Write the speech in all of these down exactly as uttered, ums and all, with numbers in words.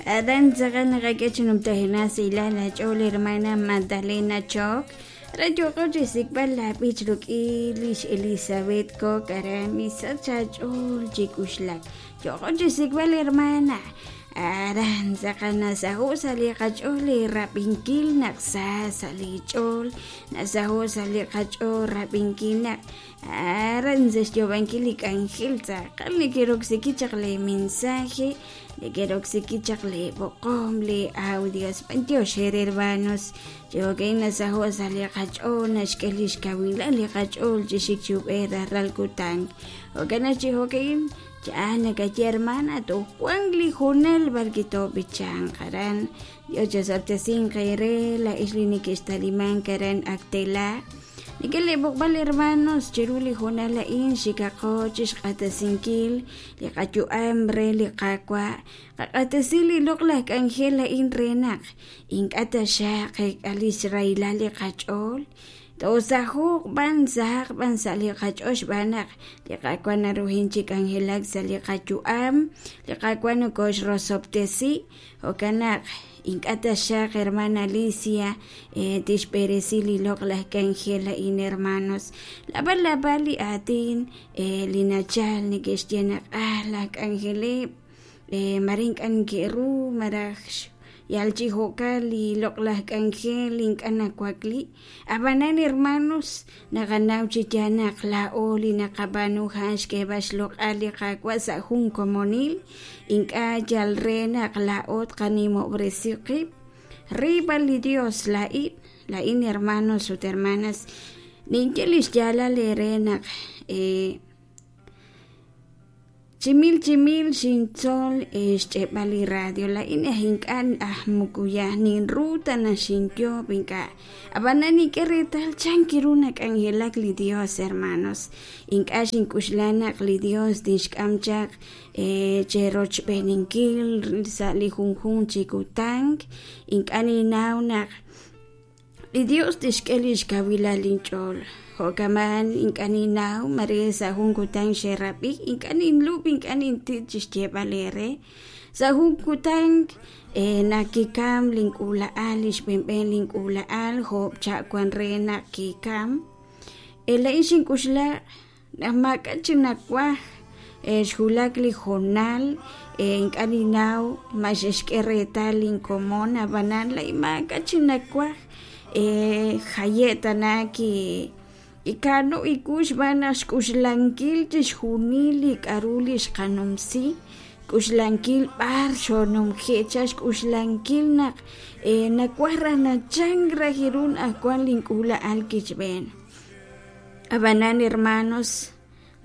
Aran tz'aqal naqak'e chi numtajenaq sahilal ach'ool hermana Magdalena Choc aran yooqo chixsik'b'al la b'ich ruk'in lix Elizabeth Coc aran misach ach'ool chi k'uxlak yooqo chixsik'b'al hermana aran tz'aqal nasaho' sa' li qach'ool li rab'inkil naq sa sa' li ch'ool nasaho' sa' li qach'ool rab'inkil naq aran sa' xyoob'ankil li k'anjel tz'aqal neke'roksiki chaq le mensaje neke'roksiki chaq le b'oqom le audios b'antiox eere hermanos chijo'kan nasaho' sa' li qach'ool naxk'e lix kawilal li qach'ool chixik chi ub'ej rajlal kutan jo'kan naq chijo'kan cha'an nakaye hermana toj wan li hoonal b'ar kitoob'ichanq aran Dios chasab'tesinq eere la'ix li neke'xtalimank aran Actela Neke'leb'oqb'al hermanos chiru li hoonal a'in xikaqo chixq'atasinkil li qayu'am re li Qaawa' qaq'atasi li loq'laj k'anjel a'in re naq ink'a' taxaq qek'a lix rahilal li qach'ool toosaho'q b'an sahaq b'an sa' li qach'ool xb'aan naq li Qaawa' naruhin chi k'anjelak sa' li qayu'am li Qaawa' nokoxrosob'tesi jo'kan naq ink'a' taxaq hermana Alicia eh, tixb'eresi li loq'laj k'anjel a'in hermanos lab'al lab'al li aatin eh, li nachal neke'xye naq ah laj k'anjeleb' eh, mare ink'a' neke'ru maraj yal chi jo'kan li loq'laj k'anjel ink'a' nawakli ab'anan hermanos naqanaw chi yaal naq laa'o li naqab'aanu a'an xk'eeb'al xloq'al li Qaawa' sa' jun komonil ink'a' yal re naq laa'o tqanimob'resi qib' riib'al li Dios laa'in laa'in hermanos ut hermanas ninye li xyaalal eere naq eh, chimil chimil xintzol xch'e'b'al li radio laa'in aj ink'a' aj mukuyaj ninru ta naxinyoob' ink'a' ab'anan nink'e reetal chan kiru nak'anjelak li Dios hermanos ink'a' xink'uxla naq li Dios tixk'am chaq eh, cherochb'eeninkil sa' li junjunq chi kutan ink'a' ninnaw naq li Dios tixk'e lix kawilal inch'ool jo'kaman ink'a' ninnaw mare sa' jun kutan xerab'i ink'a' ninlub' ink'a' nintit chixyeeb'al eere sa' jun kutan eh, naq kikam link'uula'al li xb'enb'en link'uula'al joob' cha' wan re naq kikam eh, la'in xink'uxla naq maak'a' chi nawaj eh, xwulak li hoonal eh, ink'a' ninnaw ma xexk'e reetal linkomon ab'anan la'in maak'a' chi nawaj eh, jaye' tana ki ikano ikux xb'aan naq xk'uxlankil chixjunil li k'a'ru li xqanumsi k'uxlankil b'ar xonumje' cha xk'uxlankil naq eh, nawaj raj nachank raj ru naq wan link'uula'al kichb'een ab'anan hermanos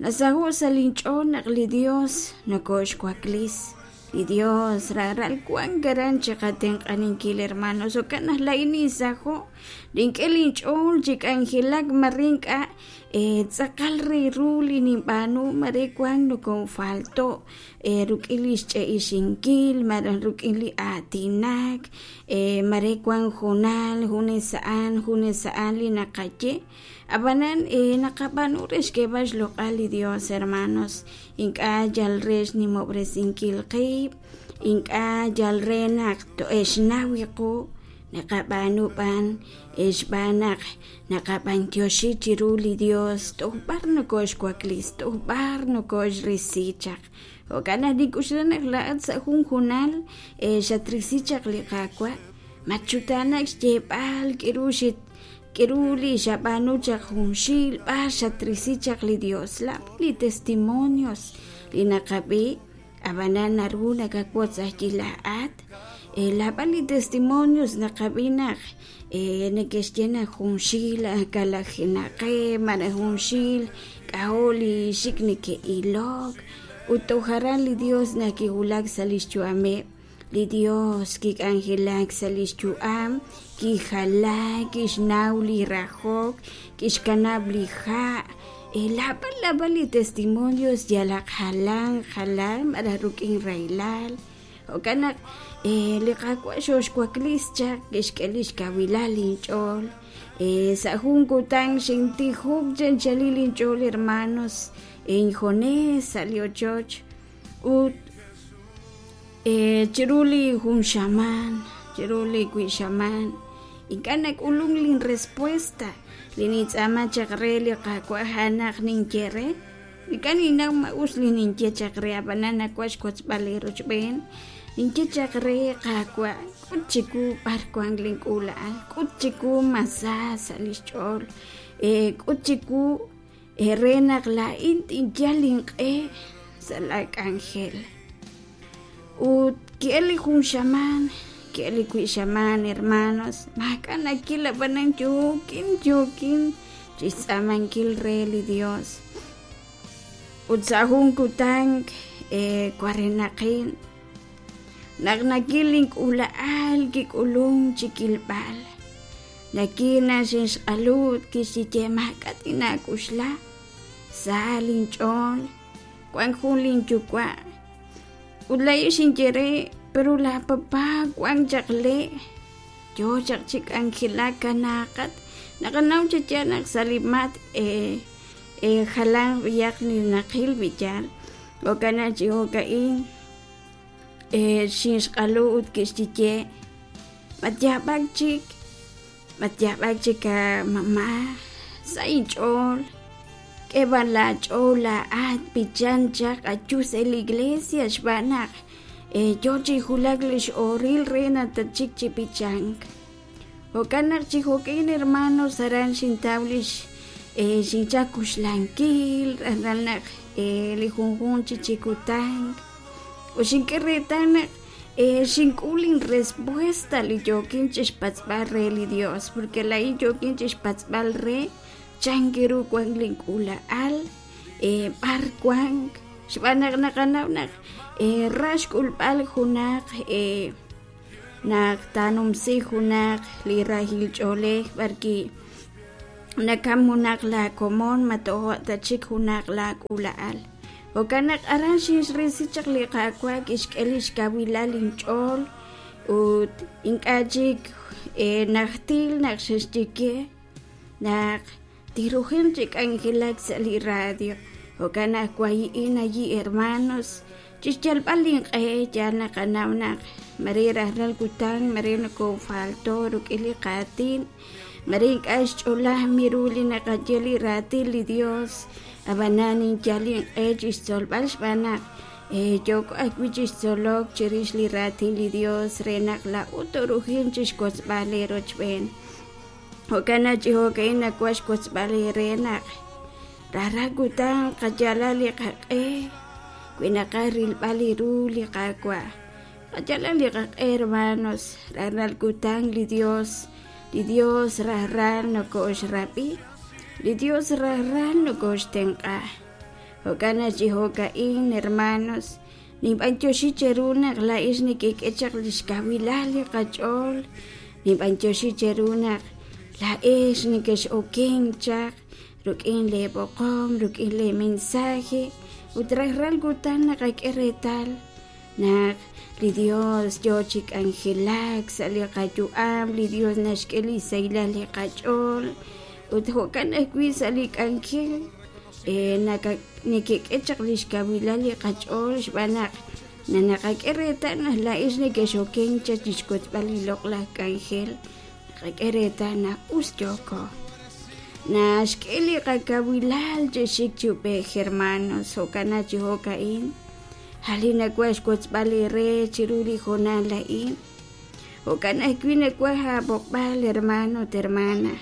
nasaho' sa' linch'ool naq li Dios nokoxwaklis li Dios raral wan aran chiqatenq'aninkil hermanos jo'kan naq la'in ninsaho' nink'e linch'ool chi k'anjelak mare ink'a' eh, tz'aqal re ru li ninb'aanu mare wan nokonfalto' eh, ruk'in li xch'e'ixinkil malaj ruk'in li aatinak eh, mare wan hoonal junes a'an junes a'an li naqaye ab'anan eh, naqab'aanu re xk'eeb'al xloq'al li Dios hermanos ink'a' yal re xnimob'resinkil qib' ink'a' yal re naq to'exnaw qu naqab'aanu b'an xb'aan naq naqab'antioxi chiru li Dios toj b'ar nokoxwaklis toj b'ar nokoxrisi chaq jo'kan naq nink'uxla naq la'at sa' jun hoonal eh, xatrisi chaq li Qaawa' matxutanak xyeeb'al k'iru xit k'iru li xab'aanu chaq junxil b'ar xatrisi chaq li Dios lab' li testimonios li naqab'i ab'anan naru nakawotz ajwi' laa'at eh, lab'al li testimonios naqab'i naq eh, neke'xye naq junxil kalajenaqeb' malaj junxil k'ajo' li xik neke'ilok ut toj aran li Dios naq kiwulak sa' lix yu'ameb' li Dios kik'anjelak sa' lix yu'am kijala kixnaw li rajok kixkanab' li ha' eh, lab'al lab'al li testimonios yalaq jalan jalan malaj ruk'in rahilal jo'kan naq eh, li Qaawa' xoxwaklis chaq kixk'e lix kawilal inch'ool eh, sa' jun kutan xintijok chanchalil inch'ool hermanos injunes sa' li ochoch ut Chiru li jun xamaan, chiru li wi xamaan, ink'a' nak'ulunk lin respuesta li nintz'aama chaq re li Qaawa' a'an naq ninye re. Ink'a' ninnaw ma us li ninye chaq re, ab'anan nawaj xwotzb'al eerochb'een. Ninye chaq re Qaawa', k'ut chiwu b'ar wank link'uula'al, k'ut chiwu ma sa sa' li xch'ool, k'ut chiwu re naq laa'in tinyal inq'e sa' laak'anjel. Ut ki'el li jun xamaan, ki'el li wi xamaan, hermanos, maak'a' nakil, ab'anan yookin yookin chixtz'aamankil re li Dios. Ut sa' jun kutan warenaqin naq nakil link'uula'al kik'ulunk chi kilb'al, nakil naq xinxq'alu ut kixye maak'a' tinaak'uxla, sa linch'ool, wank jun linyuwa'. Ut laa'in xinye re, pero la papá wank chaq le', yoo chaq chi k'anjelak kanaaqat. Naqanaw chi yaal naq sa' li matk' jalan b'ayaq li naqil b'iyaal, jo'kan naq chi jo'ka'in xinxq'alu ut kixye matyaab'ak chik, matyaab'ak chik a mamá, sa inch'ool, k'e b'an laach'ool laa'at b'ichan chaq ayu sa' li iglesia xb'aan naq yoo chi wulak li x'ooril re naq tatxik chi b'ichank. Jo'kan naq chi jo'ka'in, hermanos, aran xintaw lix xinchal kuxlankil rajlal naq li junjunq chi chi kutan. Ut xink'e reetal naq xink'ul linrespuesta li yookin chixpatz'b'al re li Dios, porque laa'in yookin chixpatz'b'al re chan ru wank link'uula'al, b'ar wank, xb'aan naq naqanaw naq ra xk'ulb'al junaq naq taanumsi junaq li rahil ch'oolej b'arwi' nakam junaq laakomon ma tojo' ta chik junaq laak'uula'al. Jo'kan naq aran xinxrisi chaq li Qaawa', kixk'e li xkawilal inch'ool ut ink'a' chik najtil naq xexye naq tirujin chi k'anjelak sa' li radio. Jo'kan naq wayi'in ayi, hermanos, chixyalb'al inq'e. Yaal naqanaw naq mare rajlal kutan mare nokofalto rik'in li qaatin, mare ink'a' xch'olajmi ru li naqaye li raatin li Dios, ab'anan ninyal inq'e chixtzolb'al xb'aan naq yooko ajwi' chixtzolok chirix li raatin li Dios re naq laa'ut torujin chixwotzb'al eerochb'een. Jo'kan naq chi jo'ka'in nawaj xwotzb'al eere naq rajlal kutan qayalal li qaq'e wi naqaj rilb'al li ru li Qaawa'. Qayalal li qaq'e, hermanos, rajlal kutan li Dios, li Dios rajlal nokoxrab'i, li Dios rajlal nokoxtenq'a. Jo'kan naq chi jo'ka'in, hermanos, ninb'antioxi cheru naq laa'ix nekek'e chaq li xkawilal li qach'ool, ninb'antioxi cheru naq laa'ex nekex'okenk chaq rik'in leeb'oqom, rik'in leemensaje, ut rajlal kutan naqak'e reetal naq li Dios yoo chi k'anjelak sa' li qayu'am, li Dios naxk'e li sahilal li qach'ool, ut jo'kan ajwi' sa' li k'anjel nekek'e chaq li xkawilal li qach'ool xb'aan naq naqak'e reetal naq laa'ex nekex'okenk chaq chixwotzb'al li loq'laj k'anjel, naqak'e reetal naq us yooko. Naxk'e li qakawilal chi xik chi ub'ej, hermanos, jo'kan naq chi jo'ka'in jali nawaj xwotzb'al eere chiru li hoonal a'in. Jo'kan ajwi' nawaj aab'oqb'al, hermano ut hermana,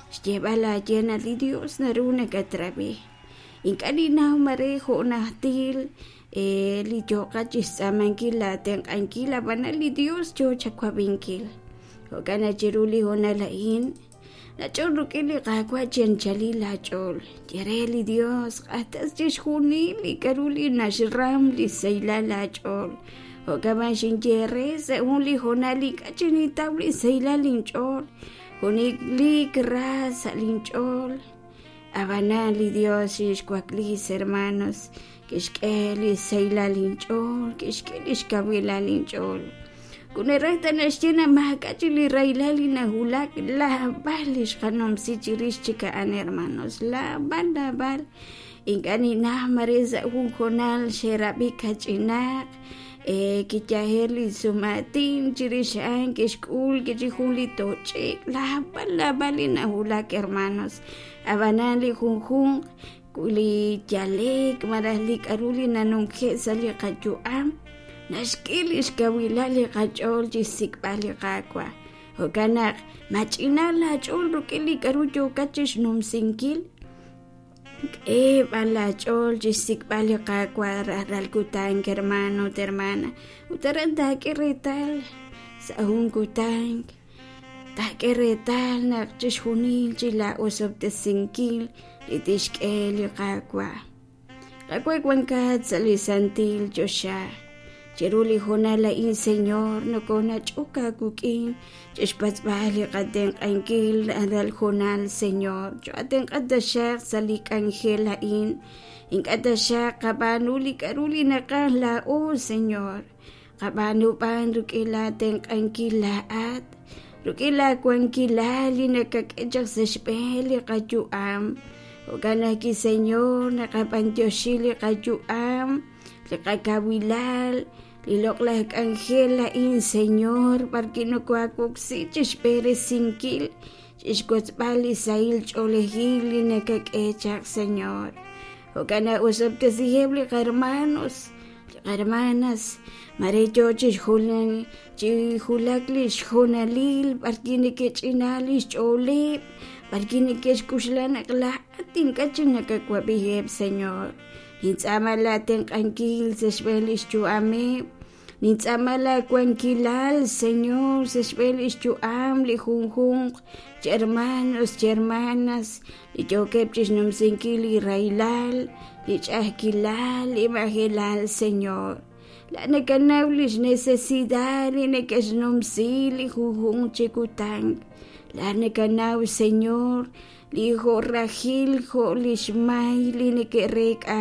xyeeb'al aaye naq li Dios naru nakatrab'i. Ink'a' ninnaw mare jo' najtil li yooqat chixtz'aamankil laatenq'ankil, ab'anan li Dios yoo chawab'inkil. Jo'kan naq chiru li hoonal a'in nach'ol rik'in li Qaawa' chi anchalil laach'ool. Ye re li Dios q'axtas chixjunil li k'aru li naxram li sahilal laach'ool. Jo'kan b'an xinye re sa' jun li hoonal ink'a' chi nintaw li sahilal inch'ool, junelik ra sa' linch'ool. Ab'anan li Dios xinxwaklis, hermanos, kixk'e li sahilal inch'ool, kixk'e li xkawilal inch'ool. Kuneraj ta naxye naq maak'a' chik li rahilal li nawulak, laab'al li xqanumsi chirix chik a'an, hermanos, laab'al, laab'al. Ink'a' ninnaw mare sa' jun hoonal xerab'i kach'inaq, Kiyajer li sumaatin chirix a'an kixk'ul kichi jun li toch'ek naab'al naab'al li nawulak hermanos ab'anan li junjunq li yalek malaj li k'aru li nanumje' sa' li qayu'am naxk'e li xkawilal li qach'ool chi xsik'b'al li Qaawa' jo'kan naq mach'ina laach'ool rik'in li k'aru yookat chi xnumsinkil k'e b'an laach'ool chi xsik'b'al li Qaawa' rajlal kutan hermano ut hermana ut aran taak'e reetal sa' jun kutan taak'e reetal naq chixjunil chi la osob'tesinkil li tixk'e li Qaawa' Qaawa' wankat sa' li santil choxa chiru li hoonal a'in Señor nokonach'ok aawik'in chixpatz'b'al li qatenq'ankil rajlal hoonal Señor cho'atenq'a taxaq sa' li k'anjel a'in ink'a' taxaq qab'aanu li k'aru li naqaj laa'o Señor qab'aanu b'an rik'in laatenq'ankil laa'at rik'in laawankilal li nakak'e chaq sa' xb'een li qayu'am jo'kan ajwi' Señor naqab'antioxi li qayu'am li qakawilal li loq'laj k'anjel a'in Señor b'arwi' nokoawoksi chixb'eresinkil chixwotzb'al li sahil ch'oolejil li nakak'e chaq Señor jo'kan naq osob'tesiheb' li qahermanos li qahermanas mare yoo chixjulan chijulak li xjoonalil b'arwi' neke'ch'ina li xch'ooleb' b'arwi' neke'xk'uxla naq laa'at ink'a' chik nakawab'iheb' Señor nintz'aama laatenq'ankil sa' xb'een li xyu'ameb' nintz'aama laawankilal Señor sa' xb'een li xyu'am li junjunq chi hermanos chi hermanas li yookeb' chixnumsinkil li rahilal li ch'a'ajkilal li majelal Señor la nakanaw lix necesidad li neke'xnumsi li junjunq chi kutan la nakanaw Señor li jo' rajil jo' lix may li neke'reek'a